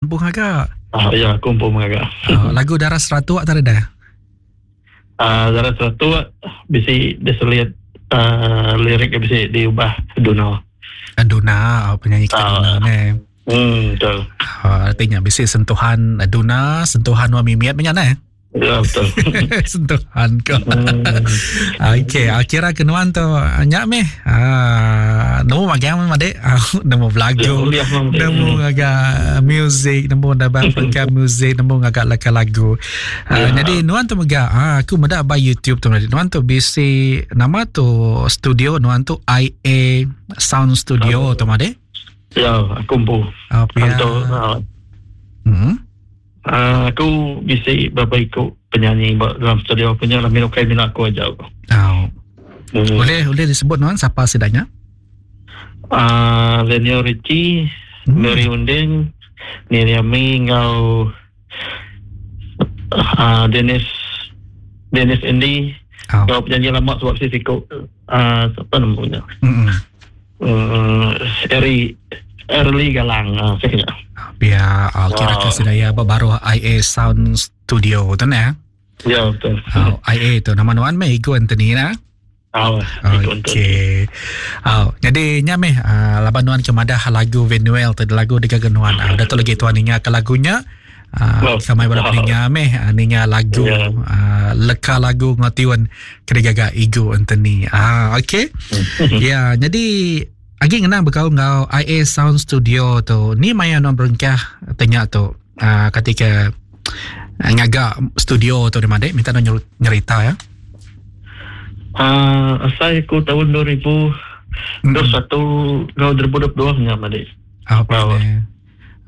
Empu ngaga. Ah, ya, aku empu ngaga. Oh, lagu Darah Seratuk tadi dah. Ah, Darah Seratuk bisi diselit uh, lirik bisi diubah Duna. Ah, Duna, oh, penyanyi kita uh, Duna ni. Betul. Oh, artinya bisi sentuhan Duna, sentuhan Wa Mimiat banyak ni. Ya betul. Sentuhan ko. Okey, ah, kira ke nuan tu nya meh. Ah, nemu magang meh madik. Ah, nemu belagu. Ya, nemu ngaga music, nemu dapat perengka music, nemu ngaga leka lagu. Ah, Ya. jadi nuan tu mega ah, aku meda ba YouTube tu madik. Nuan tu bisi nama tu studio nuan tu IA Sound Studio tu madik. Ya, aku empu. Ah, pia. Antu, ah, Uh, aku bisi berapa iku penyanyi ba dalam studio aku nya lah minum kai mina aku aja aku. Oh. Boleh boleh disebut nuan siapa sidanya? Uh, Lenio Richie, Mary Unding, Niriami enggau uh, Dennis Dennis Andy. Oh. Enggau penyanyi lama sebab si siku uh, siapa namanya? Eri Early Galang uh, saya kena. Biar uh, kira ke sedaya ba baru IA Sound Studio tu ne. Ya betul. Oh, IA tu nama nuan meh Igo Anthony na. Oh, Igo Anthony. Okey. Oh, jadi nya meh uh, laban nuan ke madah lagu Venuel tu lagu digaga nuan. Uh, dah tu lagi tuan ninga ke lagunya. Uh, kamai bala peninga meh uh, ninga lagu yeah. Leka lagu ngau tiun ke digaga Igo Anthony. Ah, okey. Ya, jadi agi ngenang bekaul enggau IA Sound Studio tu. Ni maya nuan berengkah tanya tu uh, ketika ngaga studio tu di madik minta nuan nyerita ya. Asai aku tahun 2021 ngau 2022 nya madik. Apa ni?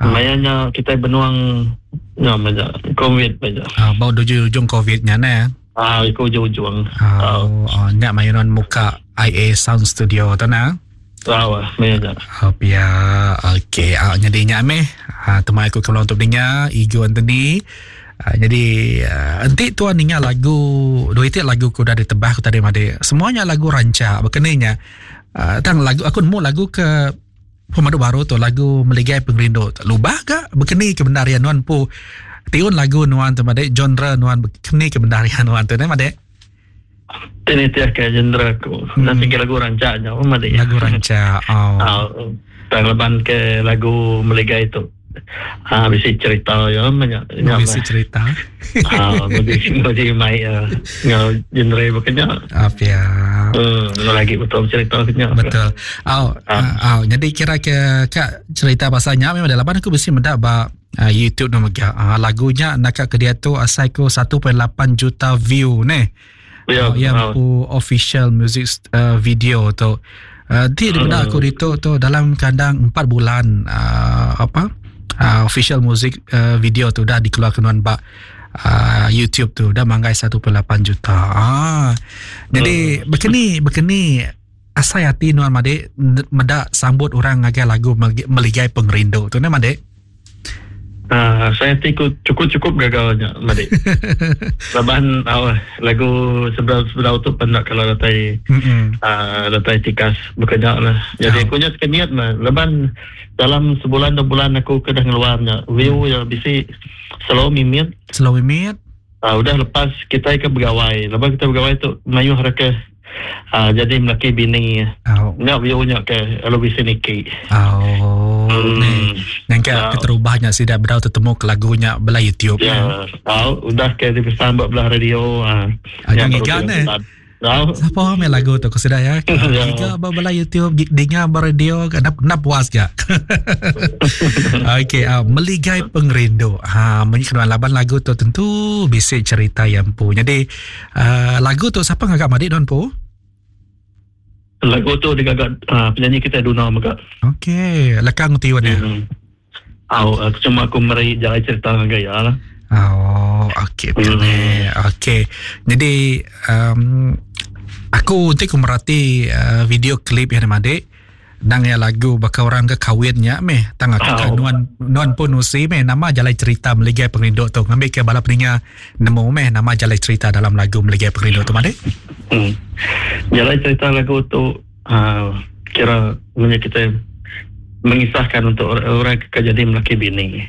Maya nya kita benuang nya maja COVID maja. Bau ujung COVID nya ne. Ah, iku ujung-ujung. Oh, oh, nya maya nuan muka IA Sound Studio tu na. Tahu, maya nya. Oh, pia. Okey, ah, jadi nya meh. Ah, temai aku keluar untuk dengar Igo Anthony. Ah, jadi enti tuan ninga lagu dua itik lagu ku dah ditebah ku tadi madi. Semuanya lagu rancak bekeninya. Ah, tang lagu aku nemu lagu ke pemadu baru tu lagu Meligai Pengerindu. Lubah ke bekeni ke bendar ya nuan pu tiun lagu nuan tu madik genre nuan bekeni ke bendar ya nuan tu ne madik. Ini tiap ke genre aku. Nanti ke lagu rancak nya madik. Lagu rancak. Oh. Tang leban ke lagu Meligai tu. Ah, bisi cerita ya banyak. Bisi cerita. Ah, bisi mai ngau genre bekenya. Apa ya? Lagi betul cerita kenya. Betul. Oh, oh, jadi kira ke kak cerita pasalnya memang dalam aku bisi mendak ba YouTube nama gak. Lagunya nak ke dia tu asai ku 1.8 juta view ne. Ya, yang ku official music video tu. Di benda aku ditu tu dalam kandang 4 bulan apa official music video tu dah dikeluarkan nuan ba YouTube tu dah manggai 1.8 juta. Jadi bekeni asai hati nuan madik medak sambut orang ngagai lagu Meligai Pengerindu tu ne madik. Saya hati ku cukup-cukup gagalnya madik. Laban lagu sebelah tu pendak kalau datai datai tikas bekerja lah. Jadi aku nya sekeniat lah. Laban dalam sebulan dua bulan aku kena ngeluarnya view ya bisi slow mimit. Slow mimit. Udah lepas kita ke begawai. Lepas kita begawai tu mayuh reka jadi melaki bini. Nyak view nya ke lalu bisi niki. Oh. Yang ke keterubahnya sida berau tetemu ke lagunya belah YouTube. Ya, udah ke dipesan buat belah radio. Jangan giga ne. Siapa main lagu tu ku sida ya? Giga belah YouTube, dengar radio, nak puas gak. Okey, Meligai Pengerindu. Ha, menyikut laban lagu tu tentu bisi cerita yang pu. Jadi lagu tu siapa ngagak madik don pu? Lagu tu digagak penyanyi kita Duna mega. Okey, lekang tiun ya. Cuma aku meri jalan cerita dengan gaya lah. Oh, okey. Okey. Jadi aku nanti aku merhati video klip yang madik nang ya lagu bakal orang ke kawinnya meh tang aku nuan nuan pun usi meh nama jalan cerita Meligai Pengerindu tu ngambil ke bala peninga nemu meh nama jalan cerita dalam lagu Meligai Pengerindu tu madik. Jalan cerita lagu tu kira punya kita Mengisahkan untuk orang ke jadi melaki bini.